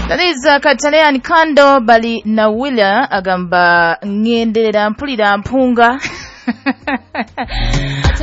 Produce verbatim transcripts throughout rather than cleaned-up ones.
That is Katalean Kando bali na Willa agamba ngenderera mpulira mpunga.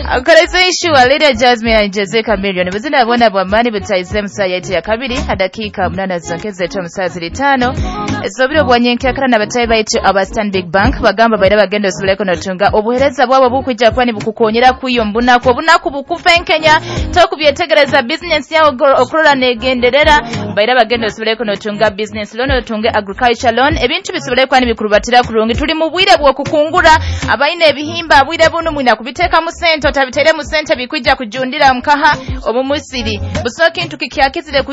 Akoleza issue Lydia Jasmine and Jose Chameleone buzina bona bwamani butayize musa yetu ya kabiri hadakika munana zonkeze to musa zilitano ezobiro bwanyenke akara na batayi baitu aba Stanbic Bank bagamba baira bagenda osuleko notunga obuhereza bwabo bukujja kwani bukukonyera kuyo mbunako obunaku bukufenkenya tokubyetegereza business yawo okurora negenderera baira bagenda osuleko notunga business loan otunge agriculture loan ebintu bisobole kwani bikurubatira kurungi tuli mu bwire bwokukungura abaine ebihimba bwire bunu mwina kubiteka mu sente otabitere mu sente bikwijja kujundira mkaha omumusiri busoki kintu kikyakizire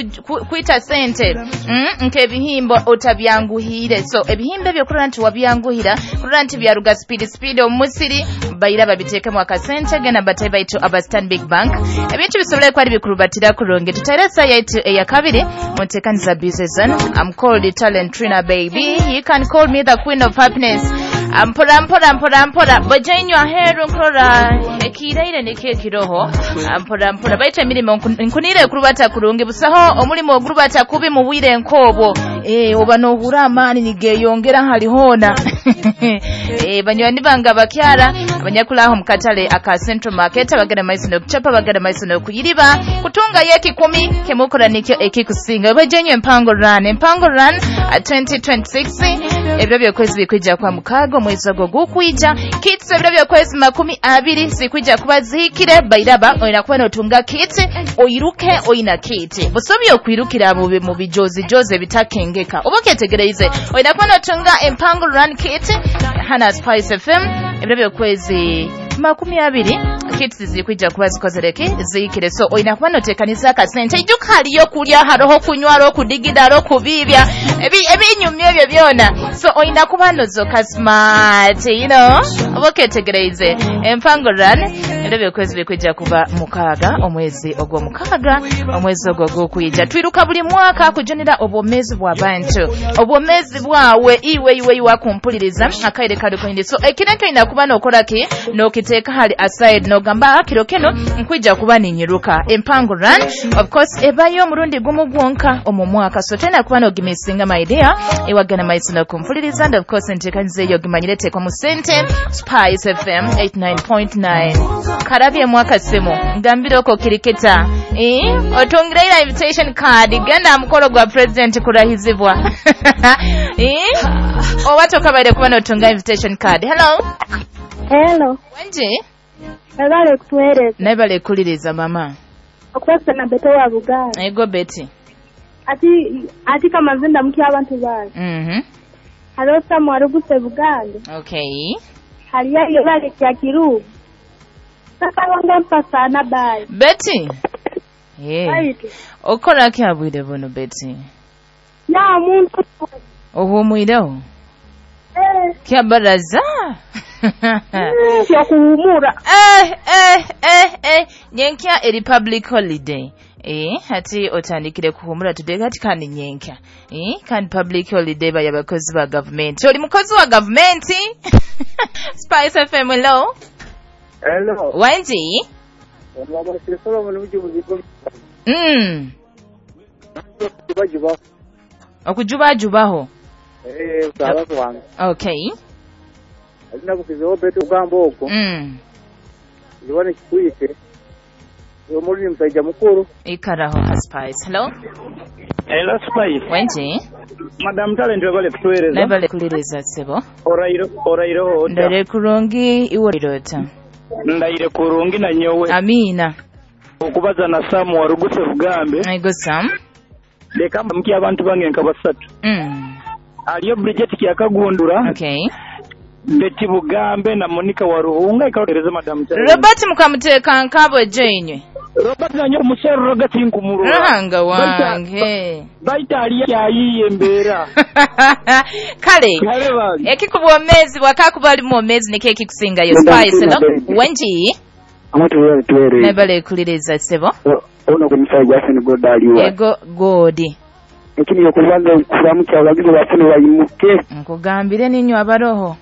kuita sente mm, nke ebihimba otabyanguhire so ebihimba ebyo kurora nti wabyanguhira kurora nti byaruga speed speed omumusiri bayira babiteke mu akasente gena batayi baitu aba Stanbic Bank ebintu bisobole kwali bikurubatira kurungi tuteresa yaitu eya kabiri mutekaniza business. I'm called Talent Trina baby, you can call me the queen of happiness. Mpora mpora mpora mpora bojenywa heru nkorora ekiraire nike kiroho mpora mpora baita emirimo nkunire kurubata kurungi busaho omulimo ogurubata kubi mu bwire nkobo eh oba nohura amani nigeyongera halihona eh banywani banga bakyara abanyakulaho mukatale aka Central Market abagana maiso no kuchapa bagana maiso no kuyiriba kutunga yeki kumi kemukora nikyo ekikusinga bojenywe empango run empango run twenty twenty-six ebyo byokwezi bikwijja kwa mukago mwezi ogwo gukwija kits ebiro byokwezi makumi abiri sikwija kuba zihikire bairaba oyina kuba notunga kit oyiruke oyina kit busobi okwirukira mu bijozi joze bitakengeka oba ketegereize oyina kuba notunga empango run kit hana Spice F M ebiro byokwezi makumi abiri kits zikwija kuba zikozereke zihikire so oyina kuba notekanisa akasente ijuka haliyo kulya haroho kunywa hariho kudigida hariho kubibya ebinyumya ebyo byona so oyina kuba nozoka smart you know oba ketegereize empango run ebiro byokwezi bikwija kuba mukaga omwezi ogwo mukaga omwezi ogwo gwokwija twiruka buli mwaka kujonera obwomezi bw'abantu obwomezi bwawe iwe iwe iwe kumpuliriza akaire kali so ekintu oyina kuba nokola ki nokiteeka hali aside nogamba akiro keno nkwija kuba ninyiruka empango run of course ebayo omurundi gumu gwonka omu mwaka so tena kuba nogimisinga my dear ewagana maiso nokumpuliriza and of course ntekanyiza eyo gimanyire tekwa mu sente Spice F M eighty-nine point nine karabye mwaka simu ngambire oko kirikita eh otungira invitation card genda mukolo gwa president kurahizibwa eh owato kabaire kuba notunga invitation card. Hello. Hello. Wenje? Ebale kutuwereza. Nebale kuliriza mama. Okwasa na Beto wa Buganda. Ego Betty. Ati ati kama zinda mki abantu bali. Mhm. Halo Samu aruguse Buganda. Okay. Hali yayo bale kya kiru. Sasa wanga mpasa na bali. Betty. Eh. Okora ki abwire bono Betty? Ya muntu. Ohumwireho. Eh. Kya baraza. Ya kuhumura. Eh eh eh eh nyenkya eri public holiday. Eh hati otandikire kuhumura today kati kandi nyenkya. Eh kandi public holiday baya bakozi ba government. Oli mukozi wa government? Spice F M hello. Hello. Wenji? Mm. Okujubajubaho. Eh usalafu wange. Okay. Alina kukizeho betu ugamba okwo. Mm. Ndiwane kikuite. Omuli musajja mukuru. Ikaraho ha Spice. Hello. Hello Spice. Wenji? Madam Talent wabale kutuwereza. Nabale kuliriza sebo. Orairo orairo ota. Ndare kurungi iwe irota. Ndaire kurungi na nyowe. Amina. Okubaza na Sam waruguse Bugambe. Ego Sam. Leka mki abantu bange nka basatu. Mm. Aliyo Bridget kyakagundura. Okay. Betty Bugambe na Monica Waruhunga ikawereza Madam Talent. Robert mukamuteka nkabo jenywe. Robert nanyo umusoro rogati nkumurura. Ruhanga wange. Baita ali yayiye mbera. Kale. Ekikubwomezi wakakubali mwomezi nike ekikusinga yo Spice no. Wenji? Amatu wewe tuwere. Nebale kuliriza sebo. Ono kumusajja afene godali wa. Ego godi. Ekini yokubanza kulamu kya wagizo bafune bayimuke. Nkugambire ninyo abaroho.